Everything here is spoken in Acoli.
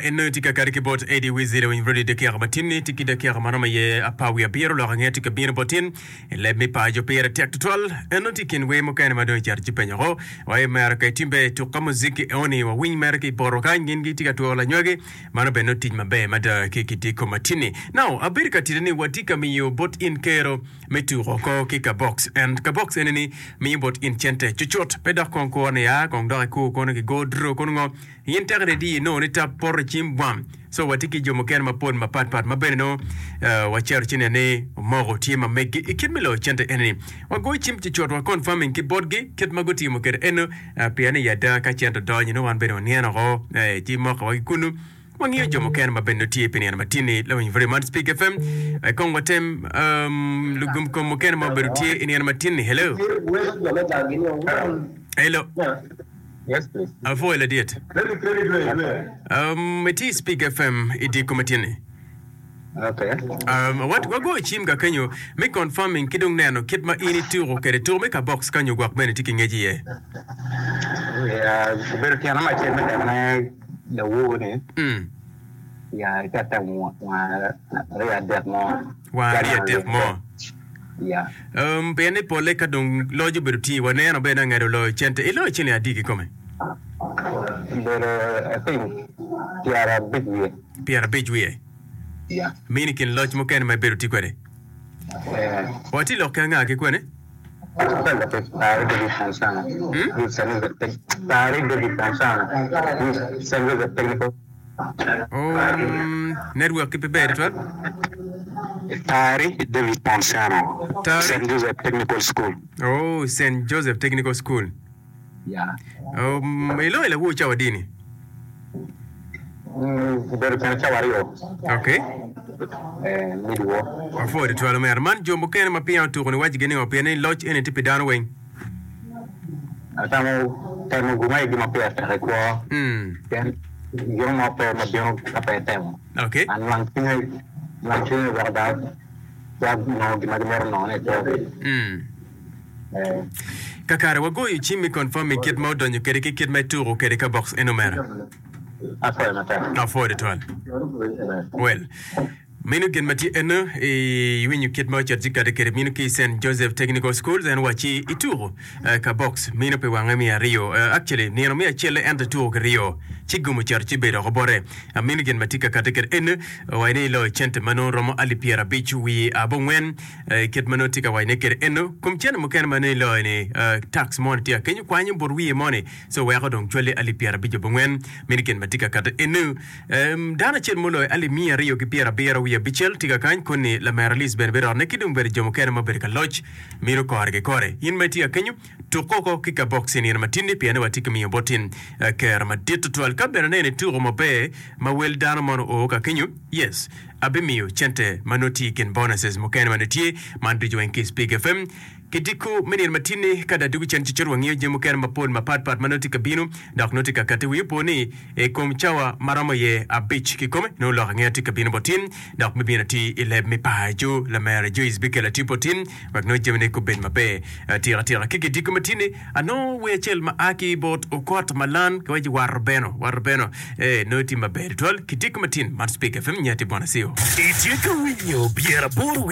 en nongo tye ka kati ki bot Eddie Wizzy lawiny radio dakika matin-ni tye ki dakika ma romo iye apar wiye abiro lok ange tye ka bino bot in i leb me paco pire tek tutwal en nongo tye i kin wer mukene ma dong icito ci penyo ko wa i mere ka itimbe tuk ka muziki eoni wawiny mere ki i poto kany gin gitye ka twero lanywagi mano bene nongo tic maber mada ki kidiko matin-ni. Now abedo ka tite ni watye ka miyo bot in kero me tuko oko ki ka box and ka box eni ni miyo bot in cente cucut pe dok kong kur ni aa kong dok ikur kono ki go draw kono ngo in teke ni di inongo ni tap poto i cim bwam so watye ki jo mukene mapol mapat pat ma bene nongo uh, wacito ci neno ni omoko tye ma meggi i kit me loyo cente eni ni wagoyo cim cucut wa confirming ki botgi kit ma gutimo kwede eno uh, pien i ada ka cente odonyo nongo wan bene wanino oko eh, ci mokowa ki kunu Wangiyo jo mukene ma bene tye pi nino matin-ni. Lawiny Very Much Speak FM. Eh, Kong watem um, lugum kom mukene ma obedo tye i nino matin-ni. Hello. Hello. Yes, please. Apwoyo ladit. Um, itye i Speak FM i dye kom matin-ni. Okay. Um, wat wagoyo cim ka kenyo me confirming ki dong neno kit ma in ituko kwede tuko me ka box kanyo gwok bene tye ki ngec iye. Yeah, obedo tyena me acel me temone lawor-ni, Mm. ya ite atemo wang aryo adek mo. Wang aryo adek mo. Ya. Um, pien ni polle ka dong loc obedo tye, waneno bene anged oloyo cente. Iloyo cente adi kikome? Obedo, I think, 50 wiye. 50 wiye. Ya. Mini kin loc mukene ma ibedo tye kwede. Eh. Watye lok ki anga ki kwene? Um, network ki pe ber tutwal. Tari David Ponsiano, Tari? St. Joseph Technical School. Oh, St. Joseph Technical School. Yeah. Um, iloyo lawor cawa dini? Mm, obedo kene cawa aryo. Okay. Eh, midwo. Apwoyo tutwal omera. Man jo mukene ma peya otuko ni wacigi ningo pien ni loc eni tye pi dano weng. Atamo temo gum aye gin ma pire tek i kwo. Mm. Pien gin mo pe ma bino ka pe itemo. Okay. An nwang cwinye, nwang cwinye weko dano twero nongo gin ma gimito nongone i kwogi. Mm. Eh. Kakare wagoyo cim mi confirming kit ma odonyo kede ki kit ma ituko kede ka box eno omera. Apwoyo matek. Apwoyo tutwal. Well, meno gin ma tye eno iwinyo kit ma ocito ci kati kede mino ki St. Joseph Technical Schools en wacci ituko eh, ka box mino pi wange miya aryo eh, actually nino miya acelle ento ituko ki ryo ci gum ocito ci bedo oko bote. Ah, mino gin ma tye ka kati kede eno waci ni iloyo cente ma nongo romo alip 50 wiye abongwen eh, kit ma nongo tye ka wacone kede eno kom cente mukene ma nongo iloyo ni eh, tax moni tye akenyo kwanyo but wiye moni Co weko dong cwali alip pyerabic abongwen meno gin ma tye ka kati enu. Em, dano acel muloyo alip miya aryo ki pyerabiro wiye abicel tye ka kany koni lamera Liz bene birotne ki dong bene jo mukene ma obedo ka loc mino kore ki kore. In ma itye ka kenyo, tuk oko ki ka box i nino matinni pien ni watye ka miyo bot in eh, kero madit tutwal. Ka bene aneno ituko maber ma wel dano mono oo ka kenyo, yes, abimiyo cente ma nongo tye i kin bonuses mukene ma nongo tye man ducu weng ki i Spik FM. Kidiko me nino matin-ni, ka dong adwogo cen cucut wangiyo jami mukene mapol mapatpat ma nongo tye ka bino dok nongo tye ka katti. Wi opo ni i kom cawa ma romo iye abic kikome, nongo lok angeya tye ka bino bot in dok bibino atir i leb me paco. Lamera Joyce bikelo atir bot in wek nongo jamine gubed maber atika tika. Ki kidiko matin-ni, anongo wer acel ma a ki bot Okot Malan ki waci Wato Beno, Wato Beno, ee, nongo tye maber tutwal. Kidiko matin, man Spik FM, nyati Bwana Sio. Itye ka winyo 80.